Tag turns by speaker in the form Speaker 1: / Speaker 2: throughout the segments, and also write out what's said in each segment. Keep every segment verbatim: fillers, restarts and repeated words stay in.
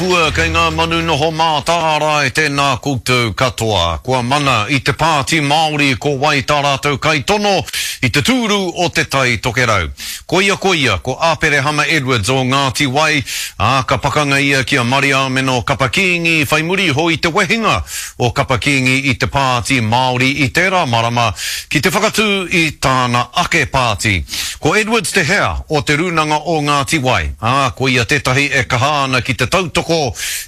Speaker 1: kapua, kei ngā manu noho mātārae, tēnā koutou katoa. Kua mana i te Pāti Māori ko wai tā rātou kaitono i te tūru o Te Tai Tokerau. Koia koia, ko Aperehama Edwards o Ngāti Wai, ā, ka pakanga ia ki a Mariāmeno Kapa Kīngi whai muri iho i te wehenga o Kapa Kīngi i te Pāti Māori i tērā marama ki te whakatū i tāna ake pāti. Ko Edwards te hea o te Rūnanga o Ngāti Wai, ā, koia tētahi e kaha ana ki te tautoko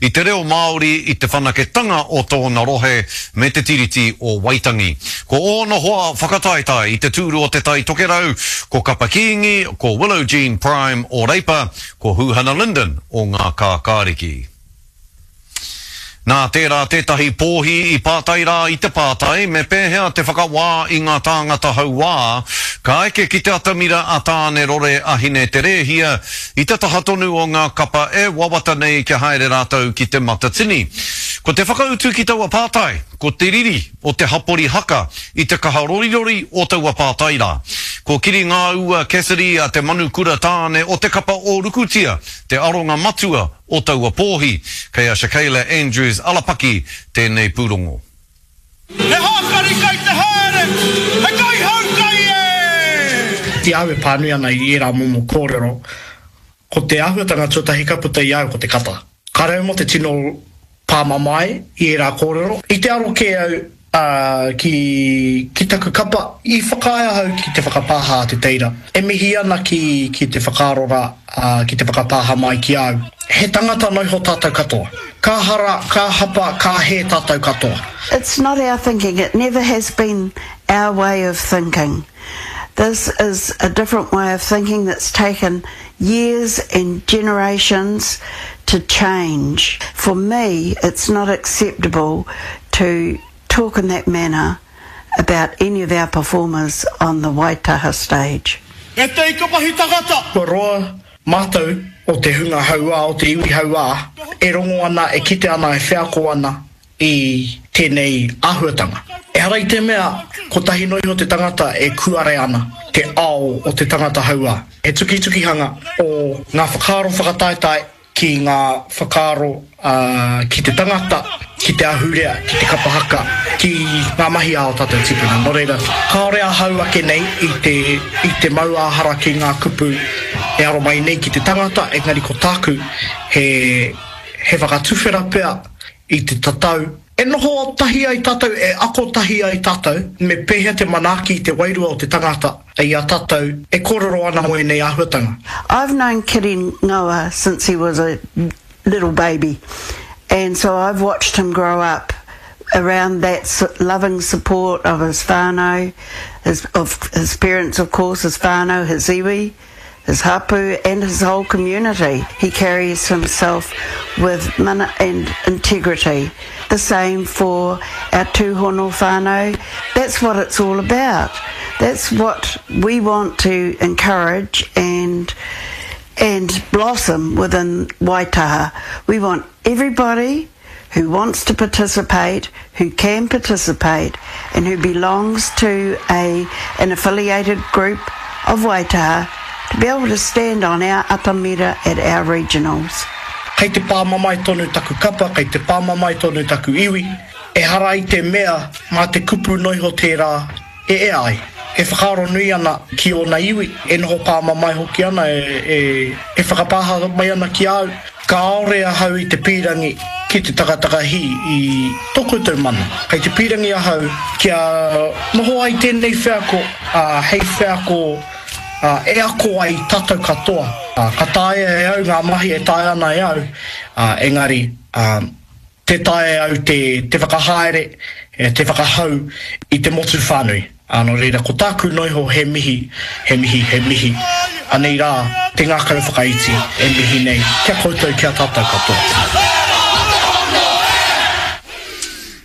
Speaker 1: i te reo Māori i te whanaketanga o tōna rohe me te Tiriti o Waitangi. Ko ōna hoa whakataetae i te tūru o Te Tai Tokerau, ko Kapa Kīngi, ko Willow Jean Prime o Reipa, ko Huhana Lyndon o Ngā Kākāriki. Nā tērā tētahi pōhi i pātai rā i te pātai me pēhea te whakawā i ngā tāngata hauā ka eke ki te atamira a Tāne Rore a Hine Te Rēhia i te taha tonu o ngā kapa e wawata nei kia haere rātou ki Te Matatini. Ko te whakautu ki taua pātai, ko te riri o te hapori haka i te kaha rorirori o taua pātai rā. Ko Kiri Ngāua Cassidy a te manukura tāne o te kapa o Rukutia te aronga matua o taua pōhi. Kei a Shakayla Andrews Alapaki tēnei pūrongo.
Speaker 2: He hākari kai te haere, he kaihaukai e!
Speaker 3: I a au e pānui ana i ērā momo kōrero, ko te āhuatanga tuatahi ka puta i a au ko te kata. Kāre au mō te tino pāmamae i ērā kōrero. I te aro kē au ki, ki taku kapa. I whakaae ahau ki te whakapāha a Te Teira. E mihi ana ki, ki te whakaaro rā, ki te whakapāha mai ki a au. He tangata noiho tātou katoa. Ka hara, ka hapa, ka hē tātou katoa.
Speaker 4: It's not our thinking, it never has been our way of thinking. This is a different way of thinking that's taken years and generations to change. For me, it's not acceptable to talk in that manner about any of our performers on the Waitaha stage.
Speaker 2: E te ika mahi tangata!
Speaker 3: Kua roa mātou o te hunga hauā, o te iwi hauā, e rongo ana, e kite ana, e wheako ana i tēnei āhuatanga. Ehara i te mea kotahi noa iho te tangata e kuare ana te ao o te tangata hauā. He tukitukihanga o ngā whakaaro whakataetae ki ngā whakaaro ki te tangata, ki te ahurea, ki te kapa haka, ki ngā mahi a ō tātou tīpuna. Nō reira, kāore ahau ake nei i te, i te mau ā-hara ki ngā kupu e aro mai nei ki te tangata, engari ko tāku he, he whakatuwhera pea i te tatau e noho tahi ai tātou, e ako tahi ai tātou, me pēhea te manaaki i te wairua o te tangata i a tātou e kōrero ana mō ēnei āhuatanga.
Speaker 4: I've known Kiri Ngoa since he was a little baby and so I've watched him grow up around that loving support of his whānau, his, of his parents of course, his whānau, his iwi, his hapu and his whole community. He carries himself with mana and integrity. The same for our tūhono whānau. That's what it's all about. That's what we want to encourage and and blossom within Waitaha. We want everybody who wants to participate, who can participate, and who belongs to a, an affiliated group of Waitaha to be able to stand on our atamira at our regionals.
Speaker 3: Kei te pāmamae tonu taku kapa, kei te pāmamae tonu taku iwi. Ehara i te mea mā te kupu noiho tērā e ea ai. E whakaaro nui ana ki ōna iwi, e noho pāmamae hoki ana, e, e whakapāha mai ana ki a au. Kāore ahau i te pīrangi ki te takatakahī i tō koutou mana. Kei te pīrangi ahau kia noho ai tēnei wheako hei wheako e ako ai tātou katoa. Ka taea e au ngā mahi e taea ana e au, engari tē taea e au te whakahaere, te whakahau i te motu whānui. Nō reira, ko tāku noiho he mihi, he mihi, he mihi. Anei rā te ngākau whakaiti e mihi nei ki a koutou, ki a tātou katoa.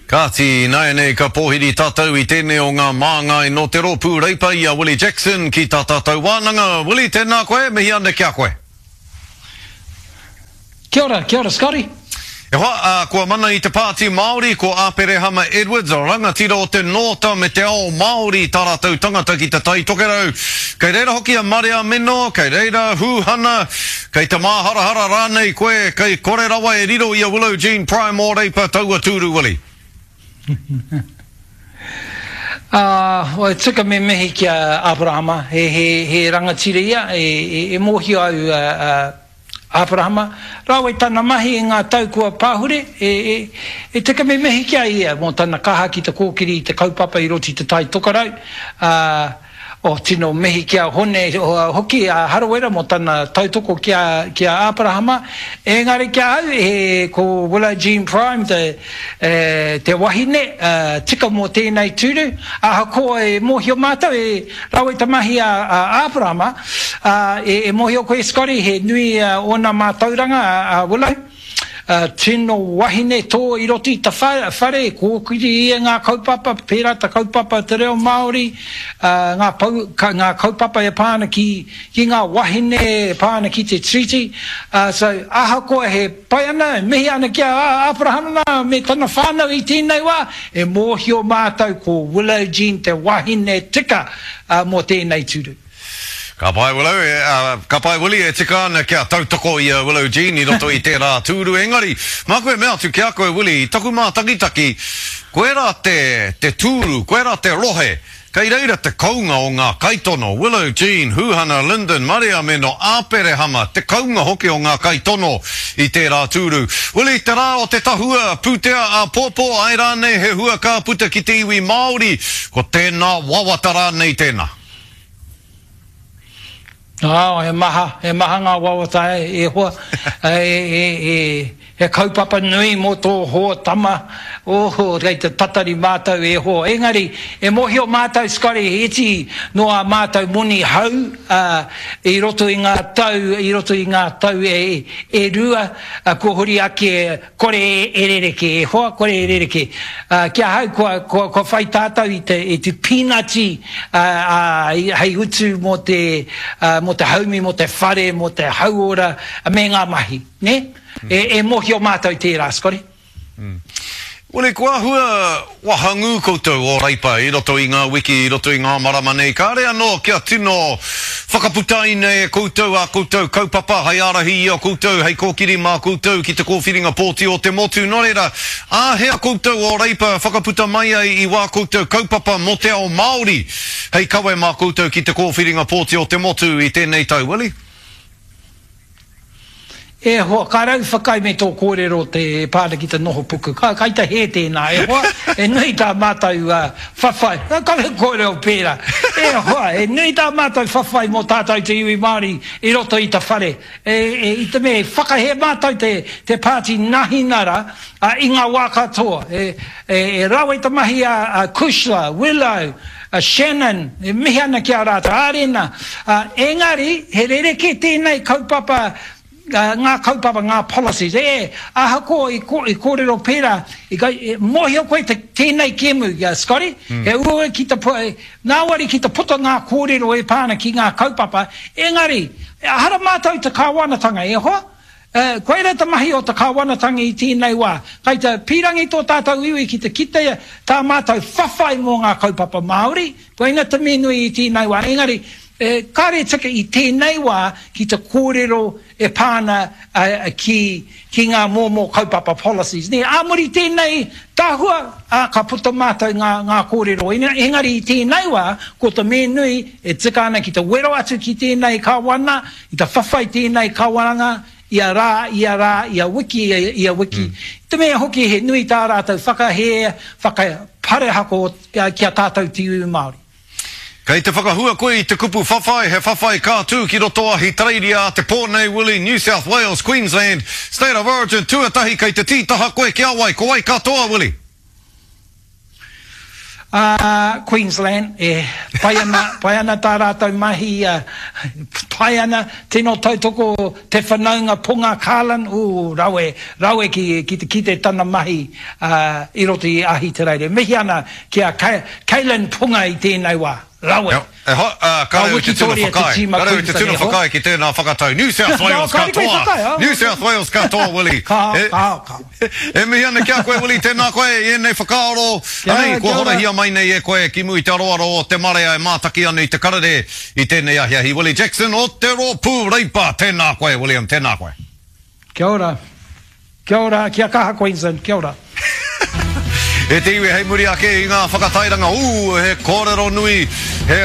Speaker 1: Kāti, ināianei ka pōhiri tātou i tēnei o ngā māngai nō te rōpū Reipa i a Willie Jackson ki tā tātou wānanga. Willie, tēnā koe, mihi ana ki a koe.
Speaker 5: Kia ora, kia ora Scotty.
Speaker 1: E hoa, ā, kua mana i te Pāti Māori, ko Aperehama Edwards, rangatira o te Nōta me te ao Māori tā rātou tangata ki Te Tai Tokerau. Kei reira hoki a Marea Meno, kei reira Hūhana, kei te māharahara rānei koe, kei kore rawa e riro i a Willow Jean Prime o Reipa taua tūru, Willie.
Speaker 5: Ā, e tika me mihi ki a Aperahama, he, he, he rangatira ia, e, e, e mōhio au a, a Aperahama, rawe tana mahi i ngā tau kua pahure, e, e, e tika me mihi ki a ia mō tana kaha ki te kōkiri i te kaupapa i roto i Te Tai Tokerau, ā, oh, tino mihi ki a Hone hoki a Harawira mō tana tautoko ki a, ki a Aperahama, engari ki a au, he, ko Willow Jean Prime te, e, te wahine, ā, tika mō tēnei tūru, ahakoa e mōhio mātou, e rawe te mahi a, a Aperahama, ā, e, e mōhio koe Scotty, he nui ōna mātauranga a, a Willow, ā, tino wahine tō i roto i te whare, e kōkiri ia ngā kaupapa, pērā te kaupapa te reo Māori, ā, ngā, pau, ka, ngā kaupapa e pā ana ki, ki ngā wahine, e pā ana ki te Treaty, ā, so, ahakoa he pai ana, e mihi ana ki a Aperahama me tana whānau i tēnei wā, e mōhio mātou ko Willow Jean te wahine tika, ā, mō tēnei tūru.
Speaker 1: Ka pai Willow, e, uh, ka pai Willie, e tika ana kia tautoko i a Willow Jean i roto i tērā tūru. Engari, māku e mea atu ki a koe Willie, i taku mātakitaki, koerā te, te tūru, koerā te rohe, kei reira te kounga o ngā kaitono, Willow Jean, Huhana, Lyndon, Maria Meno, Aperehama, te kounga hoki o ngā kaitono i tērā tūru. Willie, te rā o te tahua, pūtea āpōpō, ai rānei he hua ka puta ki te iwi Māori, ko tēnā wawata rānei tēnā?
Speaker 5: Oh, he maha, he maha ngā wawata e, e hoa, e, e, e, he kaupapa nui mō tō hoa tama, oh, kei te tatari mātou e hoa. Engari, e mōhio mātou, Scotty, he iti no a mātou moni hau, uh, i roto i ngā tau, i roto i ngā tau e, e rua, uh, kua huri ake kore e rereke, e hoa, kore e rereke. Uh, kia hau, kua, kua, kua whai tātou i te, i te pīnati uh, uh, hei utu mō te, uh, mō te haumi, mō te whare, mō te hauora, me ngā mahi, ne? Mm. E, e mōhio mātou tērā, Scotty.
Speaker 1: Mm. Willie, kua hua wahangū koutou o Reipa i roto i ngā wiki, i roto i ngā marama nei. Kāre anō kia tino whakaputaina e koutou a koutou kaupapa hei ārahi i a koutou, hei kōkiri mā koutou ki te kōwhiringa pōti o te motu. Nō reira, āhea koutou o Reipa whakaputa mai ai i wā koutou kaupapa mō te ao Māori hei kawe mā koutou ki te kōwhiringa pōti o te motu i tēnei tau, Willie?
Speaker 5: E hoa, ka rau whakai me tō kōrero te pāna ki te noho puku. Ka, kai te hē tēnā, e hoa, e nui tā mātou uh, whawhai. Ka kare kōrero pērā. E hoa, e nui tā mātou whawhai mō tātou te iwi Māori i roto i te whare. E, e, i te mea, whakahē mātou te, te pāti Nahinara uh, i ngā wā katoa. E, e, e rawe te mahi a, a Kushla, Willow, a Shannon, e mihi ana ki a rātou, Arena. Uh, engari, he rereke tēnei kaupapa, Uh, ngā kaupapa, ngā policies. E, ahakoa i, ko, i kōrero pērā, i, i, mōhio koe te, tēnei kēmu, uh, Scotty, mm. he uaua ki te, ngāwari ki te puta ngā kōrero e pāna ki ngā kaupapa, engari, ahara mātou te kāwanatanga, e hoa? Uh, koira te mahi o te kāwanatanga i tēnei wā. Kai te pīrangi tō tātou iwi ki te kitea tā mātou whawhai mō ngā kaupapa Māori, koina te mea nui i tēnei wā. Engari, e, kāre tika i tēnei wā ki te kōrero e pāna uh, ki, ki ngā mōmō kaupapa policies. Ne, ā muri tēnei tahua, ā, ka puta mātou ngā, ngā kōrero. Engari i tēnei wā, ko te mea nui e tika ana ki te wero atu ki tēnei kāwana, i te whawhai tēnei kāwananga, ia rā, ia rā, ia wiki, ia, ia wiki. Mm. Te mea hoki he nui tā rātou whakahē, whakaparehako ki a tātou te iwi Māori.
Speaker 1: Kei te whakahua koe i te kupu whawhai, he whawhai kā tū ki roto Ahitereiria a te pō nei, Willie, New South Wales, Queensland, State of Origin, tuatahi kei te tītaha koe ki a wai, ko wai katoa, Willie?
Speaker 5: Uh, Queensland, e, pai ana, pai ana tā rātou mahi, uh, pai ana, tino tautoko te whanaunga Ponga Carlin, ū, rawe, rawe ki, ki te kite tana mahi uh, i roto i Ahitereiria. Mihi ana ki a Kaylin Ponga i tēnei wā. Rawe.
Speaker 1: E ho, uh, ka reo i te tino whakaae. Ka reo i te tino whakaae ki tēnā whakatau. New South Wales katoa. New South Wales katoa, Willie.
Speaker 5: Ka, ka, ka.
Speaker 1: E mihi ana ki a koe, Willie, tēnā koe i ēnei whakaaro. Anei, kua horahia mai nei e koe ki mua i te aroaro o te marea e mātaki ana i te karere i tēnei ahiahi. Willie Jackson o te Rōpū Reipa. Tēnā koe, William, tēnā koe.
Speaker 5: Kia ora. Kia ora, kia kaha Queensland, kia ora.
Speaker 1: E te iwi hei muri ake i ngā whakatairanga, ū, he kōrero nui, he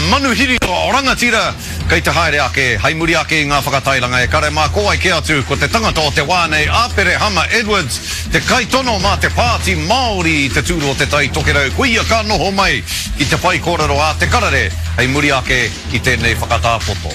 Speaker 1: manuhiri rangatira kei te haere ake hei muri ake i ngā whakatairanga e kare mā ko wai kē atu ko te tangata o te wā nei Aperehama Edwards, te kaitono mā te Pāti Māori i te tūru o Te Tai Tokerau, koia ka noho mai ki te whaikōrero a Te Karere hei muri ake i tēnei whakatāpoto.